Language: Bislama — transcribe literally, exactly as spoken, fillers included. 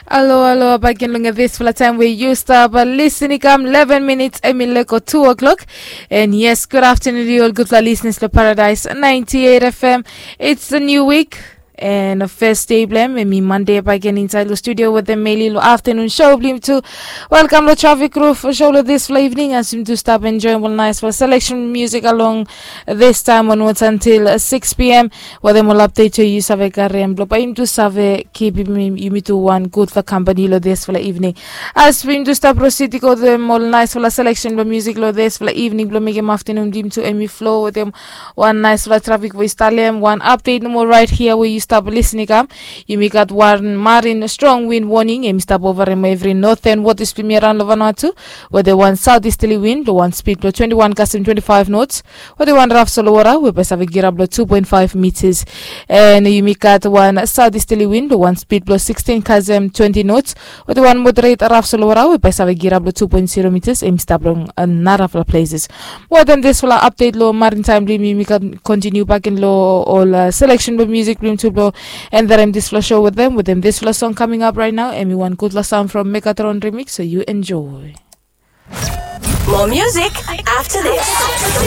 Alo alo, bagen long disfala taem we yu stap lisin i kam eleven minits em i leko two o'clock. And yes, good afternoon to you all, gudfala listeners lo Paradise ninety-eight F M. It's a new week and a first day blem em i Monday bagen inside lo studio with the Meli lo afternoon show blim tu. Welcome lo Traffic Roof show lo disfala evening as yumi tu stap enjoying ol nice fala selection music along this time onwards until six p.m. Wetem ol update we yu save karem blo bae yumi tu save kipim yumi tu wan gudfala kampani lo disfala evening. As yumi tu stap proceed i go wetem ol nice fala selection blo music lo disfala evening blo mekem afternoon blim tu em i flow wetem wan nice fala traffic we i stalem wan update nomo right here we yu stap lisin i kam. Yumi gat wan marin strong wind warning em i stap ovarem evri northern waters blim i araon lo Vanuatu, wetem wan southeasterly wind lo wan speed blo twenty-one kasem twenty-five knots, wetem wan raf solo wara we bae save girap lo two point five meters. And yumi gat wan southeasterly wind lo wan speed blo sixteen kasem twenty knots, wetem wan moderate raf solo wara we bae save girap lo two point zero meters em i stap long narafala places. Wetem disfala update lo marin taem blim yumi gat continue bagen lo ol selection blo music blim tu blo enderem disfala show wetem wetem disfala song coming up right now em i wan gudfala sound from Megatron remix, so you enjoy. More music after this.